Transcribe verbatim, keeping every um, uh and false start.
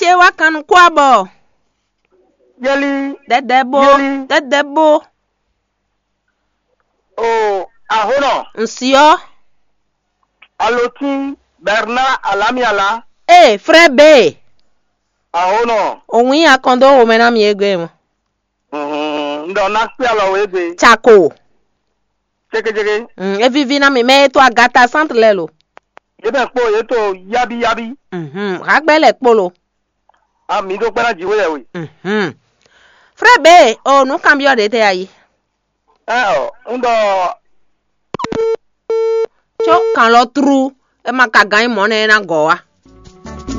ce wá kan nukún abɔ. Yeli, dɛdɛ bó, yeli, dɛdɛ bó. O, ahonɔ, ŋsi ɔ. Alotin, Bernard Alamiala. Ee, frɛ be. Ahonɔ. Òun yí akɔn dó womɛ ná mi égbé mɔ. Ŋdɔ ná kpé alɔ wé gbe. Tsako. Cékécéké. Mm, é víví ná mi mɛ é tó agata sántu lɛ lo. Yě bɛ kpó yě tó yábíyábí. Mhm, hagbɛ lɛ kpó lo. A mi ɖó kpɛ́ ná jǐ wé yɛ we. Mhm. Frɛ be o nǔ kanbyɔ́ ɖě tɛ ayi. Ɛ ɔ, un ɖɔ. Có kan lɔ trú, é ma ka gán nyí mɔ̌ nɛ́ é ná gɔ̌ wá.